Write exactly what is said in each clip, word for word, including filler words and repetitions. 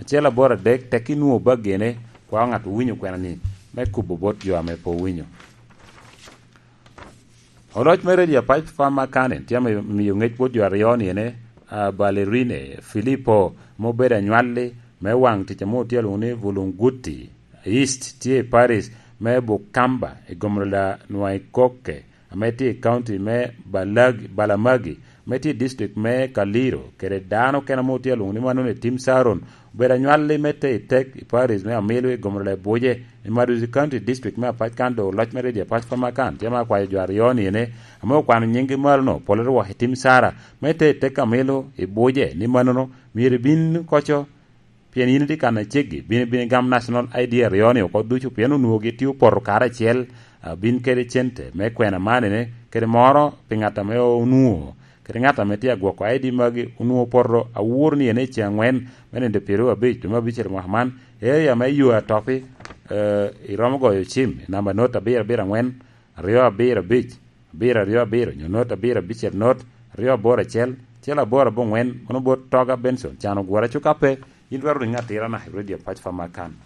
acel aboro adek, tek inwoŋo baggine, kwao ŋat owinyo kwena-ni, me kubo bot jo ame pe owinyo. Oloc me redio apac Farmer Canning tye ame miyo ŋec bot jo aryo ni ene, ah, Ballerine Filippo, ame obedo anywalli me waŋ tic ame otye alwoŋo ni Vulunguti East, tye i parish me Bukamba i gomro la Nwaikoke, ame tye i county me Balagi-, Balamagi, ame tye i district me Kaliro, kede dano kene ame otye alwoŋo ni mannono i Tim Saron, obedo anywalli me te i tek i parish me Amilu i gomro la Ebuje, i Maduzi County District me Apac kan doŋ oloc me redio Apac Farmer Canning tye ma akwayo jo aryo ni ene, ame okwano nyinggi malo-nu, pole rwok i Tim Sara, me te i tek Amilu i Buje, ni mannono myero ibin koco, pien yin itye kan aceggi, bin ibin igam National I D aryo-ni oko ducu, pien onwoŋo gitye opoto karacel, a, bin kede cente me kwena man ene, kede moro pi ŋat ame onwoŋo, kede ŋat ame tye agwoko I D magi, onwoŋo opoto awor ni ene i ceŋ angwen me nino pyeraryo abic dwe me abicel mwaka man, i area me yo Atopi, eh, iromo goyo cim i namba not abiro abiro angwen, aryo abiro abic, abiro aryo abiro, nyo not abiro abicel not, aryo aboro acel, acel aboro aboŋwen, mano bot Toga Benson, can ogwora. Cuka pe, yin twero riŋo atirana i Radio Pac Farmer Canning.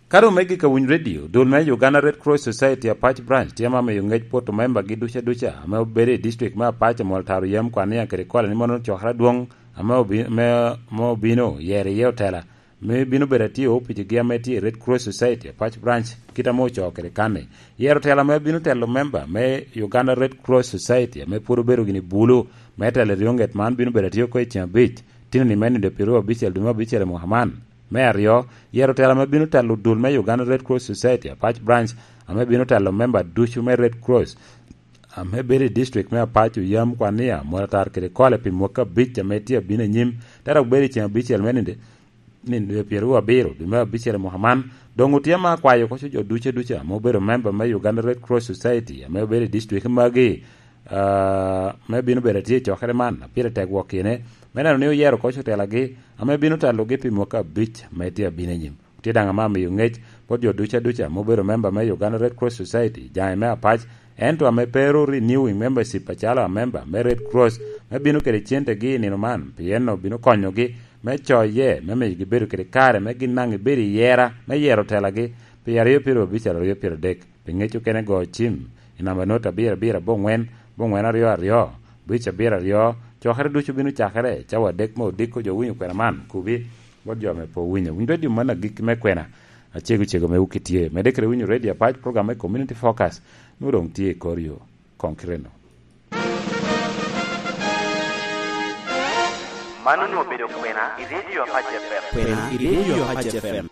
Ka doŋ me gik awiny redio, dul me Uganda Red Cross Society Apac Branch tye ma miyo ŋec poto membagi duca duca ame obedo i district me Apac, Amol Taro, Yam, Kwania kede Kole ni mono cokere adwoŋ ame obi-, me, me obino yero iye otela me bino bedo atye i opicigi ame tye i Red Cross Society Apac Branch, kit ame ocoo kede kanni. Yero otela ame bino telo memba me Uganda Red Cross Society ame pwod obedo gini bulu me telo i ryoŋet man bino bedo atye oko i ceŋ abic, tino ni me nino pyeraryo abicel dwe me abicel i mwaka man. Me aryo, yero otela ame bino telo dul me Uganda Red Cross Society Apac Branch, ame bino telo memba ducu me Red Cross ame bedo i district me Apac, Oyam, Kwania, Molatar kede Kole pi mwaka abic ame tye abino anyim, te dok bedo i ceŋ abicel me nino, nino pyeraryo abiro dwe me abicel i mwaka man. Doŋ otye ame akwayo koco jo duce duca ame obedo memba me Uganda Red Cross Society ame obedo i district magi, ah, me bino bedo atye i cokere man, a pire tek wok kine, me neno ni oyero koc otelagi ame bino telogi pi mwaka abic ame tye abino anyim. Tye daŋ ame amiyo ŋec bot jo duca duca ame obedo memba me Uganda Red Cross Society, jaŋe me Apac, ento ame pe ru renewing membership acalo amemba me Red Cross, me bino kede centegi i nino man, pien obino konyogi me coye, me miyogi bedo kede kare me gin daŋ gibedo i yera me yero otelagi pi aryo pyeraryo abic, aryo pyeraryo adek. Pi ŋec okene, go cim i namba not abiro abiro aboŋwen, aboŋwen aryo aryo, abic abiro aryo. Cokere ducu bino cakere cawa adek me odiko. Jo winyo kwena man, kubi bot jo ame pe owinyo. Winy redio man agikki me kwena, acego cego me wuki tye. Medde kede winyo redio apac, program me Community Focus, nwoŋo doŋ tye i kor yo. Koŋ kite-nu. Man onwoŋo obedo kwena i redio Apac F M. Kwena i redio Apac F M.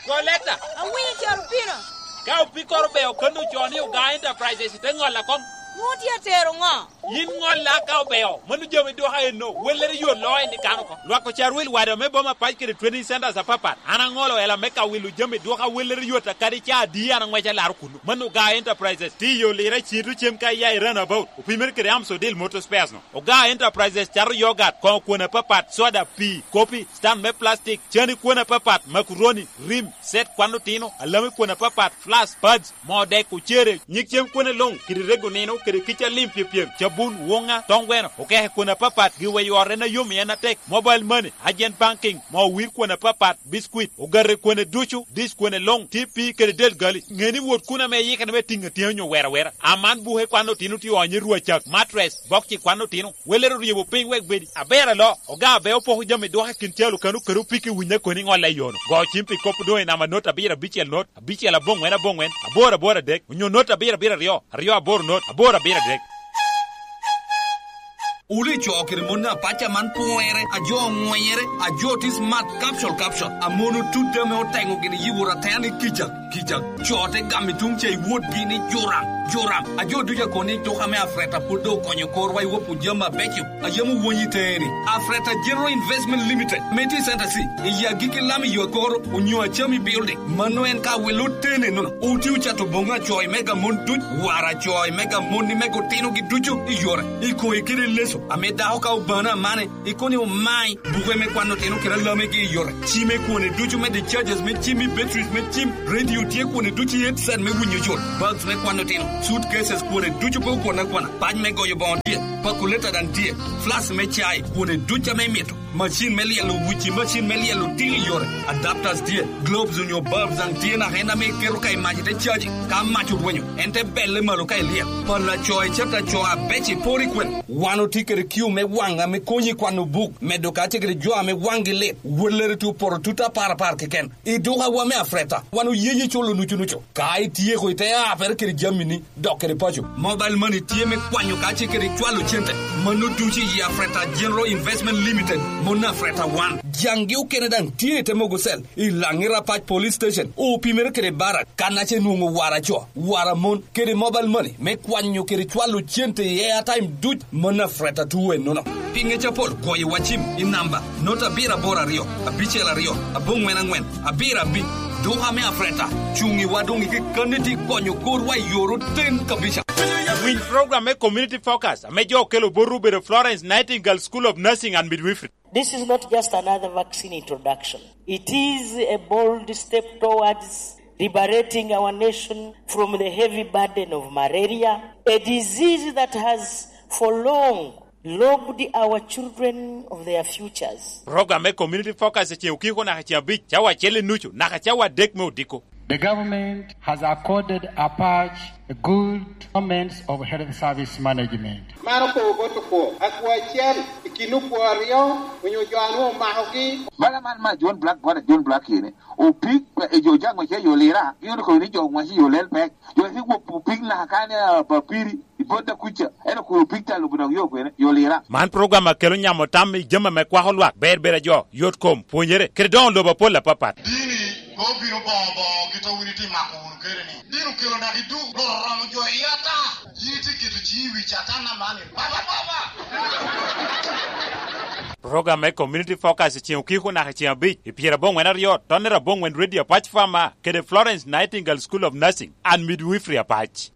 Koleta! Awinyo coro pino. Ka opikoro beo kano ocoo ni Oga Enterprises, ite ŋolla koŋ. Nwoŋo tye atero ŋo? Yin ŋolla ka obeo, mano jami dwoka enno, wellere yot loo en i kano oko. Lwak ocarwil wade ame boma pac kede training centers apapat. An aŋolo ela me ka wilo jami dwoka wellere yot akadi ca adi an aŋweco alaro kuno. Mano Oga Enterprises, tiyo lira cito cem ka iya i runabout, opimere kede Amsodil Motor Spares no. Oga Enterprises cato yogat, koŋo kwon apapat, soda, pii, kopi, stand me plastic, cani kwon apapat, makuroni, rim, set kwan otino, alami kwon apapat, flask, pads, moo dek, ocere, nyig cem kwone luŋ, kede rego nino, kede kica lim pyepyem, cabun, woŋa, toŋ gweno, okeke kwon apapat, giweyo ot en ayom i en atek, mobile money, agent banking, moo wir kwon apapat, biscuit, ogate kwone ducu, dish kwone luŋ, T P kede del gali. Ŋe ni wot kun ame iyikere me tiŋ atyeni onyo wera wera. Aman buke kwan otino tye onyo i rwa cak, mattress, bokci kwan otino, welere oryebo piny wek bedi. Aber alo, Oga Abeo poko jami dwoka i kin calo kano kede opiki winyo koni ŋolla i yono. Go cim pi kop doŋ i namba not abiro abicel not, abicel aboŋwen aboŋwen, aboro aboro adek, onyo not abiro abiro aryo, aryo aboro not, aboro abiro adek. Wun ico kede mon apac aman pwonyere, ajo oŋwenyere, ajo tye smart, capsule, capsule. Amon otut ame oteŋo gini yi wot atera ni kica, kica. Co te gamo i tuŋ ca i wotgi ni juram, juram. Ajo ducu akobo ni tuka me Afreta pwod doŋ okonyo korwa i wap jami abeco a yam owony i teŋe-ni. Afreta General Investment Limited, me tye i Center C, i agikki lam i yo akoro, onyo Achami Building. Mano en ka wilo tene nono. Oti ocato boŋo acoy mega mon duc, wara acoy mega monni mega otinogi ducu i yore, i koŋe kede i leco, ame dako ka obano amane, ikono ni omai, buke me kwan otino kede alamegi i yore, cim i kwone ducu me discharges me cim i batteries me cim, radio tye kwone ducu i headset me winyo yot, bulbs me kwan otino, Suitcases kwone ducu pe okwon akwana. Pac me goyo boŋo tye. Pakuleta daŋ tye. Flas me cai kwone ducu ame imito. Macin me lyelo wuci, macin me lyelo tili yore. Adapters tye. Globes onyo bulbs daŋ tye naka en ame iketo ka i mac ite caji. Ka mac orwenyo, en te belle malo ka ilyel. Pala co i cata co abec i pori kwen. Wan otye kede kiu me waŋ ame konyi i kwano buk, medo ka tye kede jo ame waŋgi lit. Wellere tye opoto tut apar apar keken. I dukawa me Afreta, wan oye yi culo nucu nucu. Ka ityeko ite apere kede jamini, dok kede paco. Mobile money tye me kwanyo ka ce kede cwalo cente. Mano ducu i Afreta General Investment Limited, mon Afreta wan. Jangi okene daŋ tye i te mogo cell, i Laŋi Rapac Police Station, opimere kede barak, kan ace nwoŋo wara co, wara mon, kede mobile money, me kwanyo kede cwalo cente i airtime duc, mon Afreta tuwe nono. Pinge capol, kwoyo wacim i namba, not abiro aboro aryo, abicel aryo, aboŋwen aŋwen, abiro abic. Duka me Afreta, cuŋ i wa doŋ i kekkanni ti konyo korwa i yor oten kabisa. Winy program me Community Focus, ame jo okelo botwu obedo Florence Nightingale School of Nursing and Midwifery. This is not just another vaccine introduction. It is a bold step towards liberating our nation from the heavy burden of malaria, a disease that has for long lobbed our children of their futures. Program me Community Focus i ceŋ okiko naka ceŋ abic, cawa acel i nucu, naka cawa adek me odiko. The government has accorded Apac a good performance of health service management. Man okobo bot okwo, akwo acel i kin okwo aryo onyo jo a nwoŋo omakogi. Bala man ma John Black, bot a John Black kene, opik, e jo jaŋ wace yo lira, gin okobo ni jo wace yo lel pek. Jo ki gwok opik naka kane, ah, papiri, i bot da kuca, en okobo opik ta lubo dok yo kwene, yo lira. Man program a kelo nyamo tam i jami ame kwako lwak, ber ber a jo, yot kom, pwonyere, kede doŋo lobo apol apapat. Dini pe obino boŋo boŋo kit a wun itye mako wunu kede ni. Dini okelo naka i duk, Rwot oromo jo i ata. Yin itye keto ciŋi i wi Catan aman ni, "Baba, Baba!" Program me Community Focus i ceŋ okiko naka i ceŋ abic, i pyeraboŋwen aryo, tonnere aboŋwen Radio Apac Farmer, kede Florence Nightingale School of Nursing and Midwifery Apac.